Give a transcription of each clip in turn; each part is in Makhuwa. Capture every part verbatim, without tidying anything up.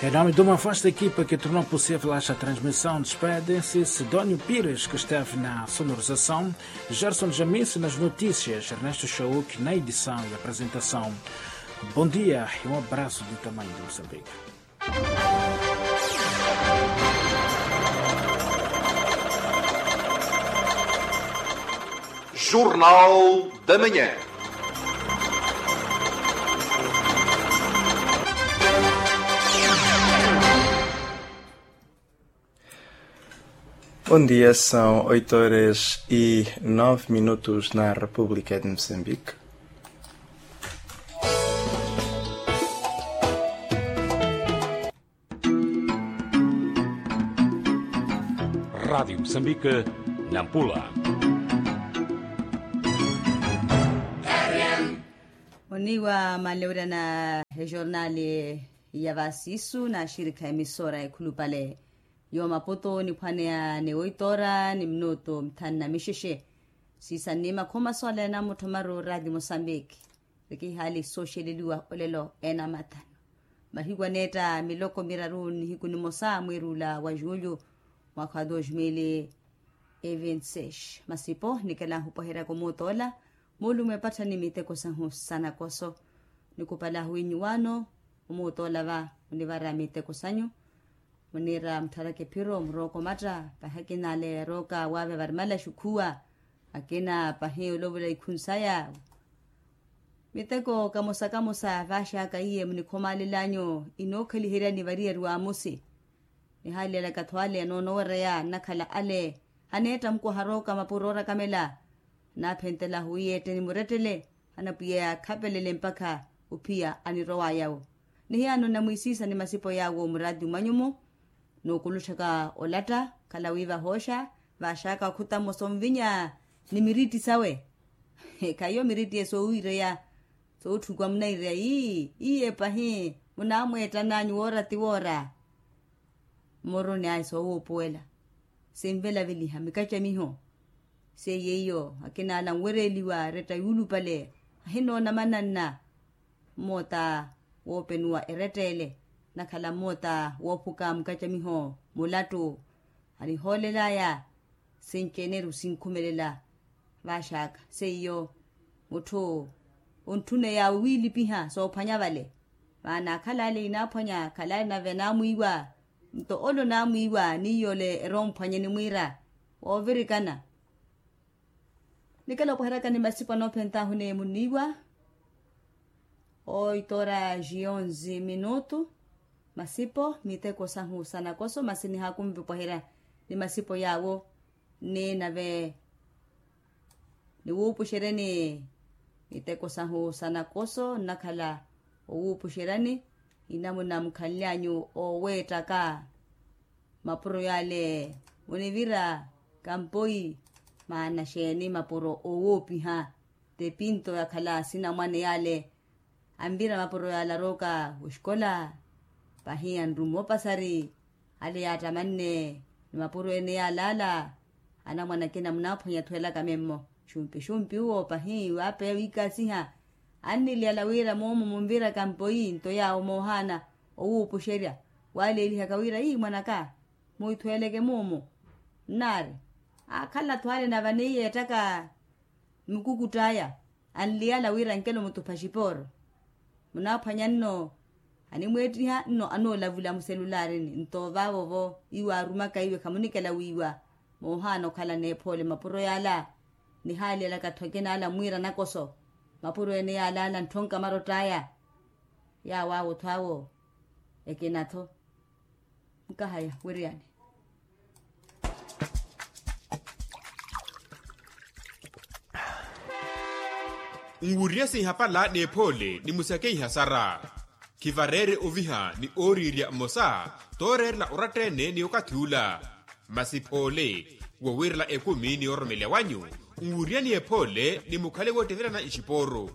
Em nome de uma vasta equipa que tornou possível esta transmissão, despedem-se Sidónio Pires, que esteve na sonorização, Gerson Jamis nas notícias, Ernesto Chauk na edição e apresentação. Bom dia e um abraço do tamanho de Moçambique. Jornal da Manhã. Bom dia, são oito horas e nove minutos na República de Moçambique. Rádio Moçambique, Nampula. Oniwa malewira na ejornali ya vasisu na axirikha emisora ekhulupale yo maputo niphwaneya ni oito ora ni minutu mithanu na mixexe. Siisa nnima khomaso ale na mutthomaru radio moçambique. Vekihaali sooxeleliwa olelo ena mathanu mahiku aneetta miloko miraru nihiku nimosa mwiirula wa julho mwakha wa dos mil e vinte seis. Masipo nikelahu opweheryaka omuuta ola moolumo epattha ni miteko sahu sa nakoso. Nikupala ahuwinyu wano omuuta ola va munivara miteko sanyu. Muniira muttharaka ephiro murooka omatta pahi akina ale yarooka waave varimala xukhuwa akina pahi olovola ikhunu saya. Miteko kamosa kamosa vaaxaka iye munikhomaalelanyu inookhaliheryani variyari wa amosi. Nihaalilyalaka tho ale anoonowereya nnakhala ale aneetta mukwaha arooka mapuro orakamela. Anaaphentelahu iye etteni murettele anapwiya yaakhapelele mpakha ophiya anirowaya wo. Nihiyaano nnamwiisiisa ni masipo yaawo muraati mwanyumo. Nookulutthaka olatta khala wi vahooxa vaaxaka okhuta mmosa onvinya ni miritti sawe. Khayiyo miritti ye soowiireya sootthukuwa munaireya ii iye pahi munaamweettan'anyu woora ti woora. Mmoroni ayi soowuupuwela sinvelaveliha mikacamiho. Seiye iyo akina ala anwereliwa eretta yuulupale ahinoona mananna. Mmoota woopenuwa eretteele nakhala mmoota woophuka mukacamiho mulattu. Anihoolelaya sinci-ene eri sinkhumelela. Vaaxaka seiyo mutthu ontthuneya wiilipiha soophwanya vale. Maana akhala ale inaaphwanya akhala ale nave naamwiiwa nto ole onaamwiiwa n'iyo ole eromphwanye nimwiira woovirikana. Nikela opweheryaka ni masipo anoophentahu ni muniiwa. Oito horas e onze minutu. Masipo miteko sahu sa nakoso masi nihaakunvi opweherya ni masipo yaawo. Ni nave niwuupuxeryeni miteko sahu sa nakoso nnakhala owuupuxeryani. Inamuna mukhanlyanyu ooweettaka mapuro yale munivira kampoi. Maana xeeni mapuro oowoopiha? Ti pinto yakhala sinamwane yale anvira mapuro yale arooka oxikola pahi anrumu opasari. Ale yaattamanne ni mapuro ene yale ala anamwane akina munaaphwanya athuwelaka memmo. Xumpi xumpi uwo pahi waapeya wiikaasiha anniliyala wira moomo munvira kampoi nto yaawo moohaana owuupuxerya. Waaleelihaka wira ii mwan'aka muhithuweleke muumu. Nnaari aakhala-tho ale nave aneiyeettaka mikukutt'aya anliyala wira nkelo mutupha xipooro. Munaaphwanya nno animweettiha nno anoolavula muselulaarini nto vaavo-vo iwo aarumaka iwe khamunikela wiiwa. Moohaana okhala n'ephoole mapuro yaala. Nihaaliyalaka-tho akina ala mwiira nakoso mapuro ene yaala ala ntthonkamarott'aya. Yaawo awo-tho awo ekina-tho. Nkahaya wiriyani. Nwuriye sinhapala n'ephoole ni musakeiha sara. Khivareere oviha ni ooriirya mmosa tooreerela oratta-ene ni okathi ula. Masi phoole wowiirela ekumi ni oromeleya wanyu nwuriyani ephoole ni mukhale woottevelana ixipooru.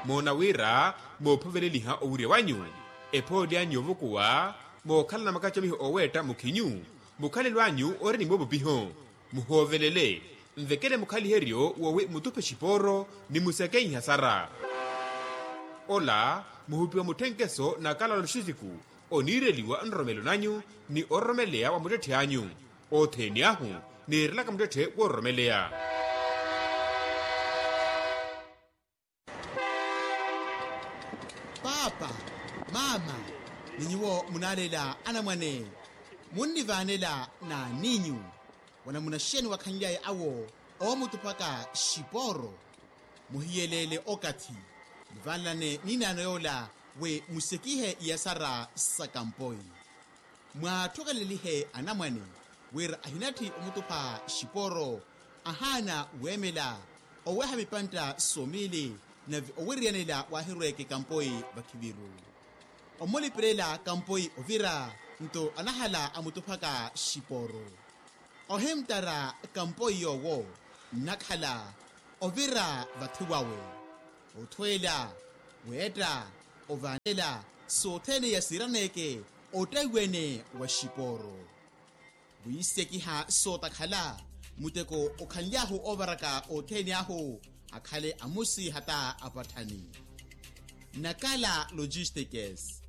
Moona wira moophoveleliha owurya wanyu ephoole anyu yoovukuwa mookhalana makacamiho ooweetta mukhinyu. Mukhalelo anyu ori ni moopupiho muhoovelele nvekele mukhaliheryo woowi mutuphe xipooro ni musakeiha sara. Ola muhupiwa mutthenkeso na kalalo xisiku. Oniireliwa nroromelo nanyu ni ororomeleya wa muttetthe anyu. Othene ahu niirelaka muttetthe woororomeleya. Paapa, maama, ni nyuwo munaalela anamwane, munnivaanela n'aninyu wanamunaxeni wakhanlyaye awo oomutuphaka xipooro. Muhiyeleele okathi, muvanlane ninaano yoola wi musekihe iyasara sa kampoi. Mwaathukelelihe anamwane wira ahinatthi omutupha xipooro, ahaana weemela oweha mipantta somiili, nave owiriyanela waahirweeke kampoi vakhiviru. Omulipirela kampoi ovira, nto anahala amutuphaka xipooro. Ohimttara kampoi yoowo nnakhala ovira vathi wawe, othweela, weetta, ovaanela sothene yasiiraneeke ottaiwene wa xipooro. Wiisekiha sootakhala, muteko okhanly'ahu oovaraka othene ahu akhale amusi hata apatthani. Nakala logistikes,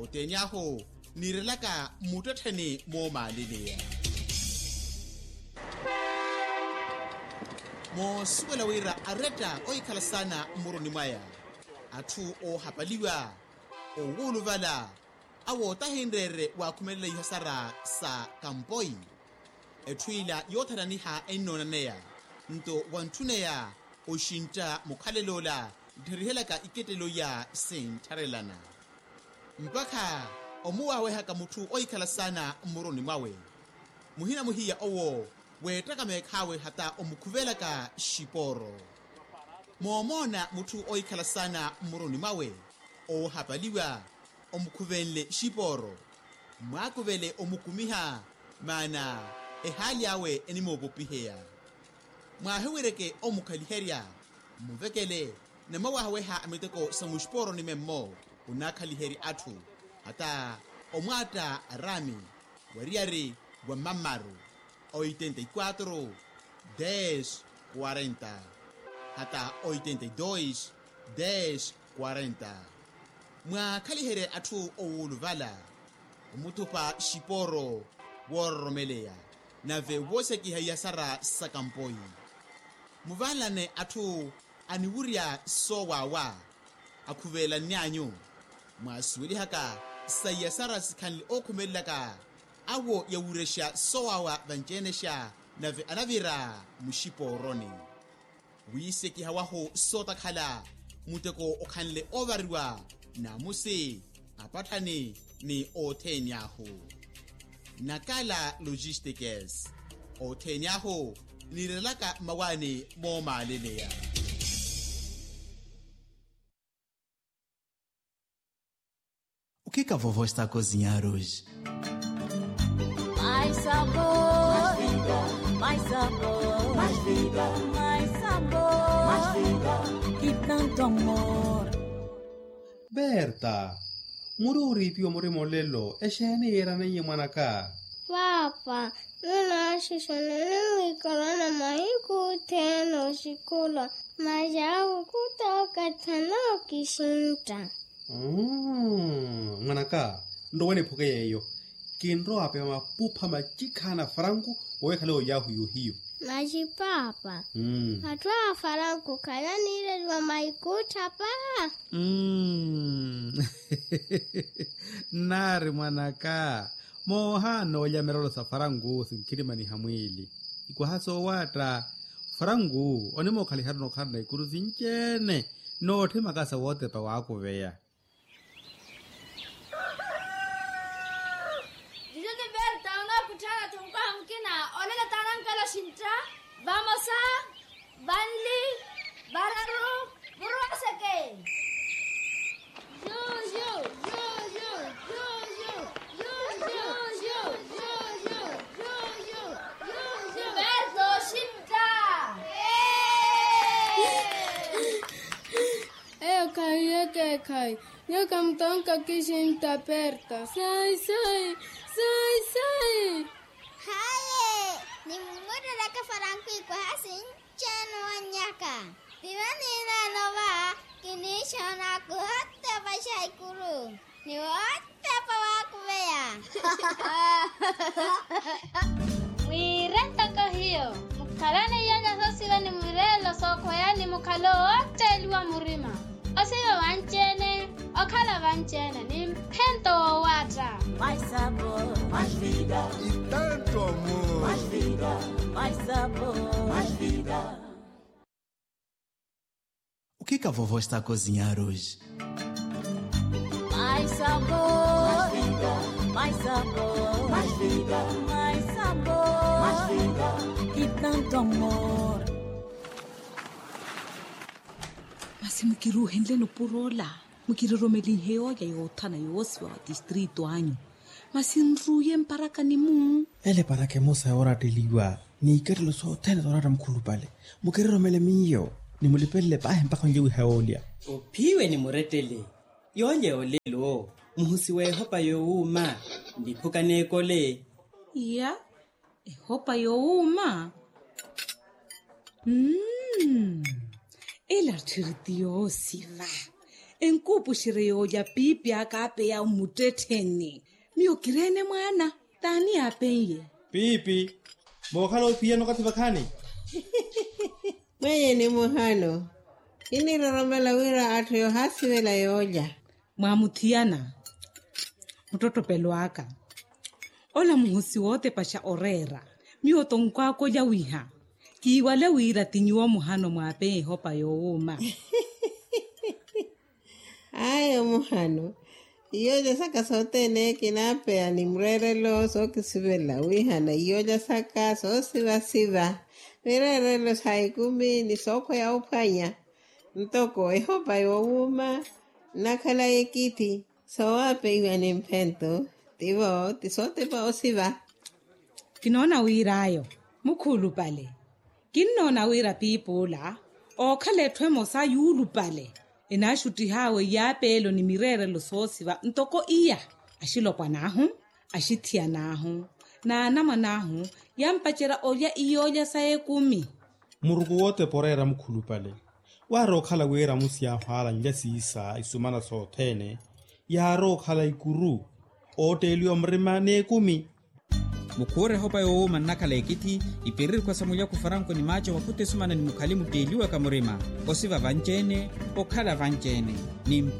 othene ahu niirelaka muttettheni moomaaleleya. Moosuwela wira aretta ohikhala saana mmuruni mwaya, atthu oohapaliwa, owuuluvala, awo tahinreere waakhumelela ihasara sa kampoi. Etthu ila yoothananiha ennoonaneya, nto wantthuneya oxintta mukhalel'ola nttherihelyaka ikettelo iya sinttharelana. Mpakha omuwaawehaka mutthu ohikhala saana mmuruni mwawe, muhina muhiya owo weettaka meekhaawe hata omukhuvelaka xipooro. Moomoona mutthu ohikhala saana mmuruni mwawe, oohapaliwa, omukhuvenle xipooro, mwaakuvele omukumiha, maana ehaali awe enimoopopiheya. Mwaahiwireke omukhaliherya, mmuvekele, namwawahaweha a miteko sa muxipooroni memmo, onaakhaliherya atthu, hata omwaatta araami, wariyari wa mamaru, oitenta y quatro, dez, quarenta, hata oitenta y dois, dez, quarenta. Mwaakhaliherye atthu owuuluvala, omuthupa xipooro, woororomeleya, nave woosekiha iyasara sa kampoi. Muvanlane atthu aniwurya soowaawa, akhuvelanny'anyu. Mwaasuwelihaka sa iyasara sikhanle ookhumelelaka, awo yawurexa soowaawa vanci-enexa, nave anavira muxipooroni. Wiisekiha wahu sootakhala, muteko okhanle oovariwa, naamusi, apatthani, ni othene ahu. Nakala logistikes, othene ahu niirelaka mmawaani moomaaleleya. O que que a vovó está a cozinhar hoje? Mais sabor, mais sabor, mais vida, mais sabor, mais vida, e tanto amor. Berta, muri oriipiwa muri molelo exeeni yiiraneiye mwanaka? Paapa, nunaaxixana nimwiikarana mahiku othene oxikulwa, masi ahu khutookathana okixintta. Mwanaka, nrowa niphuke yeeyo. Kinrowa apepa mapupha macikhana faranku owekhale oyahu yohiyo. Masi paapa, atthu a faranku khalaniireliwa maikutthapa. Nnaari mwanaka, moohaana olya merelo sa faranku sinkhirimaniha mwiili. Ikwaha soowaatta, faranku onimookhaliha-tho nookhalana ikuru sinci-ene, nootthimaka sa wootepa waakuveya. Juju ni berta onookutthana-tho mukwaha mukina. Olelo taanankela oxintta. Vamosa, vanli, vararu, muruwaseke. Juju, juju, juju, juju, juju, juju, juju. Berta oxintta. Eyo khayi, eyo kheekhayi. Nyuwo khamutonka oxintta, berta. Sai sai, sai sai. Haye, nimumutteleke faranku ikwaha sinci-ene owannyaka. Piwa niinaano va, kiniixoona kuhotepa xa ikuru. Ni wootepa wa Mwiire ntoko hiyo, mukhalane iyolya soosiva ni mwireelo sookhweya ni mukhalo wootteeliwa murima. Osiva vanci-ene, okhala vanci-ene ni mphento woowaatta. Maisabo, maisviga. Itento amu. Maisviga, maisabo, maisviga. O que que a vovó está a cozinhar hoje? Maisabo, maisviga, maisabo, maisviga, maisabo, maisviga. Itento amu. Masi mukiruuhenle nupuro ola, mukiroromelinhe yoolya yoothana yoosiva wa tistrito anyu. Masi nruuye mparakani-mu. Ele paraka emosa yooratteliwa ni ikattelo sothene sooratta mukhulupale. Mukiroromele miyo ni mulipelele paahi mpakha onlye wiha yoolya. Ophiwe ni murettele. Yoolya yoolelo muhusi w'ehopa yoowuuma. Niphuka n'ekole. Iya. Ehopa yoowuuma. Mmm. Ela tthiri ti yoosiva. Enkuupuxerye yoolya piipi aka apeya omuttettheni. Miyo kireene mwaana. T'ani aapen'ye? Piipi. Mookhala ophiyana okathi vakhaani. Mwenye ni muhano. Kiniroromela wira atthu yoohaasivela yoolya. Mwaamuthiyana. Muttottopelo aka. Ola muhusi wootepaxa oreera. Miyo tonkwaakolya wiha. Kiiwale wira ti nyuwo muhano mwaapeya ehopa yoowuuma. Ayo muhano. Iyoolya saka sothene kinaapeya ni mureerelo sookisivela wihana iyoolya saka soosivasiva. Mireerelo sa ekumi ni sookhweya ophwanya. Ntoko ehopa yoowuuma nnakhala ekithi. Soowapeiwa ni mphento. Tivo ti sootepa osiva. Kinoona wir'ayo mukhulupale. Kinnoona wira piipi ola ookhala etthu emosa yuulupale. Enaaxuttih'awe iyaapeelo ni mireerelo soosiva ntoko iya. Axilopwan'ahu, axithiyan'ahu, n'anamwan'ahu yampacerya olya iyoolya sa ekumi. Muruku wootepa oreera mukhulupale. Waarookhala wira amusi yaahwaalanlya siisa isumana sothene. Yaarookhala ikuru ootteeliwa murima n'ekumi. Mukhuure ehopa yoowuuma nnakhala ekithi. Ipiririkhwa sa mulyaku faranko ni maaco makhuta esumana ni mukhali mutteeliwaka murima. Osiva vanci-ene, okhala vanci-ene ni mphe.